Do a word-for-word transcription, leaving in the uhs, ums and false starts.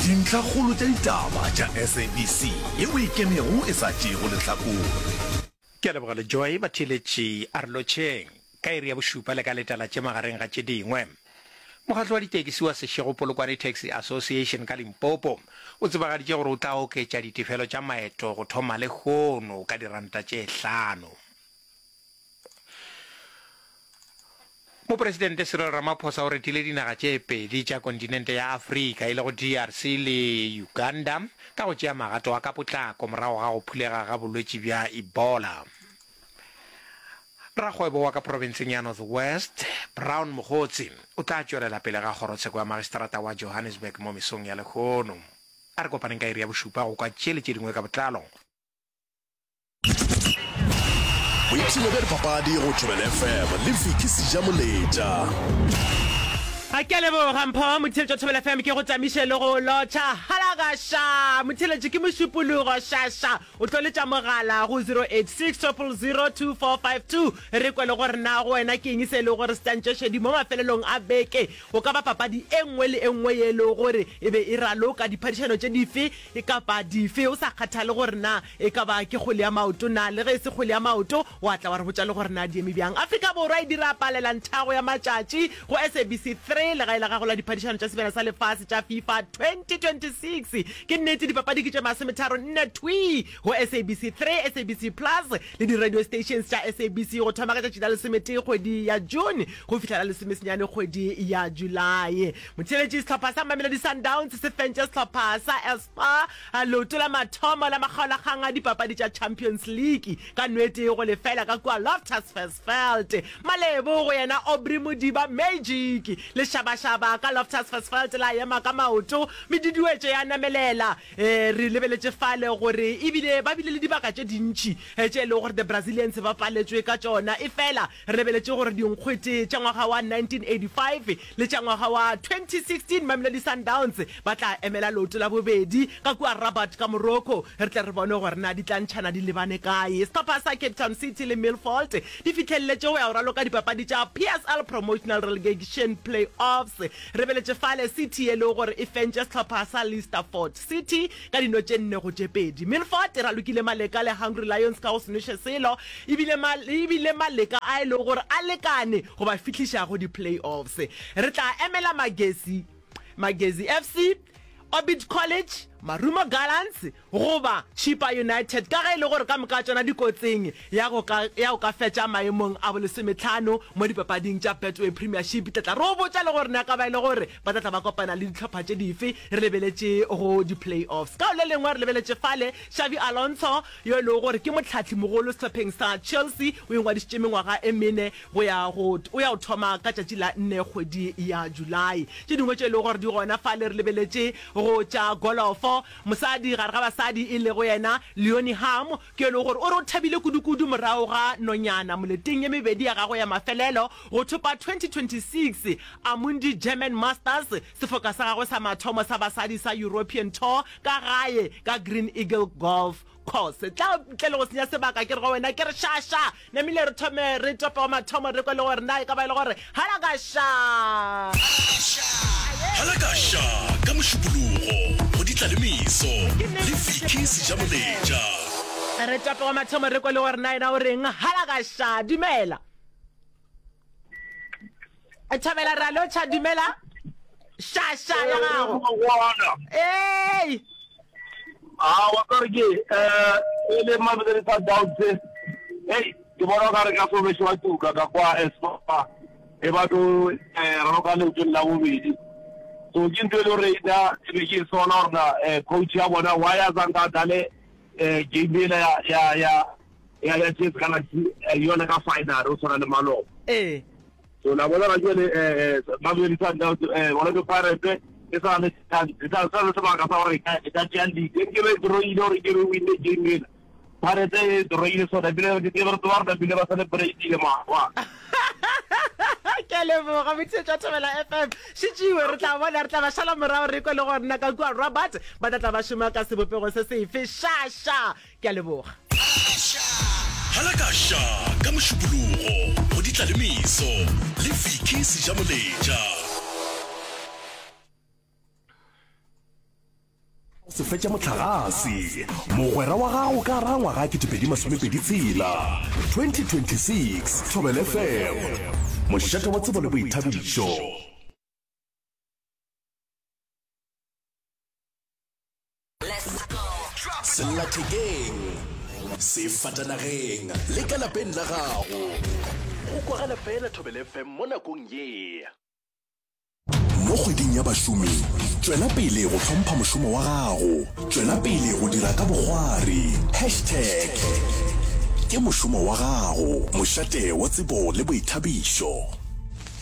Dintlhakgolo tša ditaba tša S A B C yeo e ikemego e sa tšeego lehlakore. Ke a leboga Lejoy, batheeletši a re lotšheng ka iri ya bošupa le ka letala tše magareng ga tše dingwe. Mokgatlo wa ditekisi wa Seshego Polokwane Taxi Association ka Limpopo o tsebagaditše gore o tla oketša ditefelo tša maeto go thoma lehono ka diranta tše hlano. Mopresidente Cyril Ramaphosa o retile dinaga tše pedi tša kontinente ya Afrika e lego D R C le Uganda ka go tšea magato a ka potlako morago ga go phulega ga bolwetši bja Ebola. Rakgwebo wa ka profenseng ya North West, Brown Mogotsi, o tla tšwelela pele ga kgorotsheko ya magistrata wa Johannesburg mo mesong ya lehono. A re kopaneng ka iri ya bošupa go kwa tše le tše dingwe ka botlalo. Boipshino bja dipapadi go Thobela F M le Vicky Sejamoletša. A ke a leboga Mpho motheeletši wa Thobela F M, ke go tamiše le go lotšha. Halakaša motheeletši, ke Mošupologo šaša o tlo letša mogala go zero eight six triple zero two four five two re kwe le gore na go wena ke eng se e lego gore se tantše šedi mo mafelelong a beke. Go ka ba papadi e nngwe le e nngwe ye e lego gore e be e raloka, diphadišano tše dife kapa dife, o sa kgathale gore na e ka ba ke kgwele ya maoto na le ge e se kgwele ya maoto, wa tla wa re botša le gore na di eme bjang. Afrika Borwa e dira palela nthago ya matšatši go S A B C three, legae la gago la diphadišano tša Sebjana sa Lefase tša FIFA twenty twenty-six. Ke nnete, dipapadi ke tše masometharo nne thwii go S A B C three, S A B C Plus le di-radio stations tša S A B C go thoma ka tšatši la lesometee kgwedi ya June go fihla la lesomesenyane kgwedi ya July. Motheeletši, sehlopha sa Mamelodi Sundowns se fentše sehlopha sa Espoir leoto la mathomo la makgaolakgang a dipapadi tša Champions League ka nwete go lefela ka kua Loftus Versfeld. Malebo go yena Aubrey Modiba Magic. Lešabašaba ka Loftus Versfeld la ema ka maoto, meduduetšo ya namelela. E, re lebeletše fale gore ebile ba bile le dibaka tše dintši tše e lego gore the Brazilians ba paletšwe ka tšona, efela re lebeletše gore dinkgwete tša ngwaga wa nineteen eighty-five le tša ngwaga wa twenty sixteen Mamelodi Sundowns ba tla emela leoto la bobedi ka kua Rabat ka Morocco. Re tle re bone gore na di tla ntšhana di lebane kae. Sehlopha sa Cape Town City le Milford di fihleleletše go ya go raloka dipapadi tša P S L Promotional Relegation Playoffs. Re lebeletše fale City e lego gore e fentše sehlopha sa Leicesterford City ka dino tše nne go tše pedi. Milford e ralokile maleka le Hungry Lions ka go se noše selo, ebile ebile maleka a e lego gore a lekane go ba fihliša go di-playoffs. Re tla emela Magesi Magesi F C, Orbit College, Marumo Gallants goba Chippa United, ka ge e le gore ka moka tšona dikotsing ya go ka ya go ka fetša maemong a bolesometlhano mo dipapading tša Betway Premiership. Tla tla re o botša le gore na ka ba e le gore ba tla tla ba kopana le dihlopha tše dife re lebeletše go di-playoffs. Ka le lengwe re lebeletše fale Xabi Alonso yo e lego gore ke mohlahli mogolo sehlopheng sa Chelsea o ingwadišitše mengwaga e mene go ya go o ya go thoma ka tšatši la nne kgwedi ya July. Tše dingwe tše e lego gore di gona fale re lebeletše go tša golofo. Mosadi gare ga basadi e lego yena Leonie Harm ke e lego gore o re o thabile kudukudu morago ga nonyana moleteng ye mebedi ya gagwe ya mafelelo go thopa twenty twenty-six Amundi German Masters, sefoka sa gagwe sa mathomo sa basadi sa European Tour ka gae ka Green Eagle Golf Course. Tla ntle le go senya sebaka ke re go wena ke re šaša namile re thome re tope wa mathomo re kwe le gore na e ka ba e le gore halakaša. Halakaša ka Mošupologo go ditla le meso le Vicky Sejamoletša. Re tope wa mathomo re kwe le gore na ena o reng. Halakaša, dumela. Thabela, re a lotšha, dumela, šaša ya gago. Ee. A wa ka re ke eh e le Mamelodi Sundowns, hey, ke bona ka re ka so bešo wa tuka ka kwa Espoir e ba tlo eh raloka leotong la bobedi. So ke ntho e le gore nna e be ke e sola gore na eh coach ya bona why a zanka a dlale eh game ela ya ya ya ya ya T S Galaxy yona ka final o tshwana le maloba. Ee. So la bona ga jwale eh Mamelodi Sundowns, eh Orlando Pirates e sa le chance, e sa le sebaka sa gore e ka tšea league. E nkebe e drawile gore ke be winne game ela. Pirates e drawile sona ebile ke re tseba gore bile ba celebrate-ile maabane. Ke a leboga motheetši wa Thobela F M. Šetšiwe re tla bona, re tla ba šala morago re kwe le gore na ka kua Rabat ba tla tla ba šoma ka sebopego se sefe. Šaša, ke a leboga. Halakaša ka Mošupologo go ditla le meso le Vicky Sejamoletša. Go se fetša mohlagase, mogwera wa gago ka gara ngwaga ketepedi masomepedi tshela, twenty twenty six, Thobela F M, mošate wa tsebo le boithabišo. Sellathekeng, sefatanageng le ka lapeng la gago. Go kwagala fela Thobela F M mo nakong ye. Mo kgweding ya bašomi, tšwela pele go hlompha mošomo wa gago. Tšwela pele go dira ka bokgwari. Hashtag Ke mošomo wa gago, mošate wa tsebo le boithabišo.